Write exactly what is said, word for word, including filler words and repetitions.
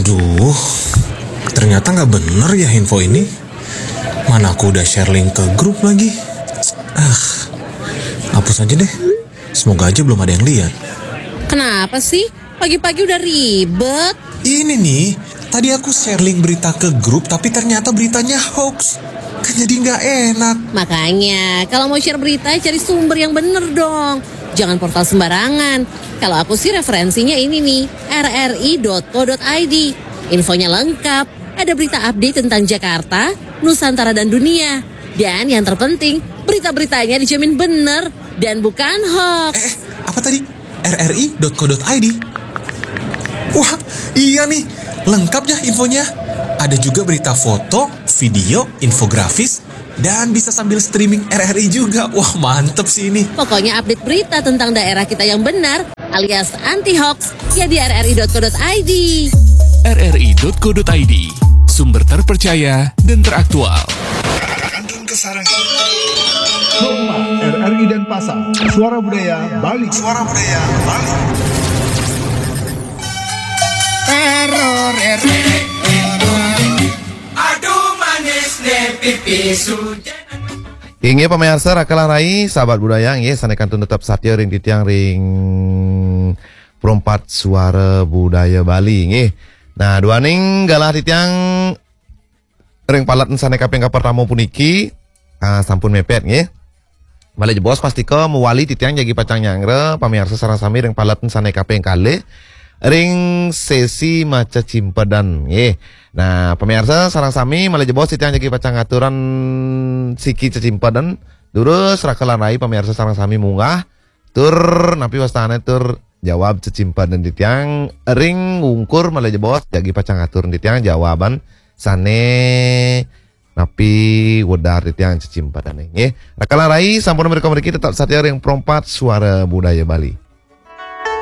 Duh, ternyata nggak bener ya info ini. Mana aku udah share link ke grup lagi. Ah, hapus aja deh. Semoga aja belum ada yang lihat. Kenapa sih? Pagi-pagi udah ribet. Ini nih, tadi aku share link berita ke grup tapi ternyata beritanya hoax. Kan jadi nggak enak. Makanya, kalau mau share berita, cari sumber yang bener dong. Jangan portal sembarangan. Kalau aku sih referensinya ini nih, rri.co.id. Infonya lengkap, ada berita update tentang Jakarta, Nusantara dan dunia. Dan yang terpenting, berita-beritanya dijamin bener dan bukan hoax. Eh, apa tadi? rri.co.id. Wah, iya nih, lengkap ya infonya. Ada juga berita foto, video, infografis, dan bisa sambil streaming RRI juga. Wah, mantep sih ini. Pokoknya update berita tentang daerah kita yang benar alias anti hoax ya di rri.co.id. rri.co.id, sumber terpercaya dan teraktual. Kandun Kesarangan. Rumah RRI Denpasar, Suara Budaya Bali. Suara Budaya Bali. Teror RRI. Aduh manis ne pipi sujan. Inggih pamiarsa Raka lan Rai, sahabat budaya, inggih sané kantun tetep satia ring titiang ring Perempat Suara Budaya Bali, inggih. Nah, duaning galah titiang ring paletan sané kaping kapertama puniki, ah, sampun mepet, inggih. Malih jebos pastika mawali titiang jagi pacang nyanggra pamiarsa sareng sami ring paletan sané kaping kalih ring sesi maca cimpedan, nggih. Nah, pamiarsa sareng sami malih jebos titiang jagi pacang ngaturan siki cecimpedan. Durus Raka lan Rai pamiarsa sareng sami munggah tur napi wastané tur jawab cecimpedan titiang ring ungkur malih jebos jagi pacang ngatur titiang jawaban sané napi wedar titiang cecimpadané, nggih. Raka lan Rai sampun mrika mriki tetep satia ring Perempat Suara Budaya Bali.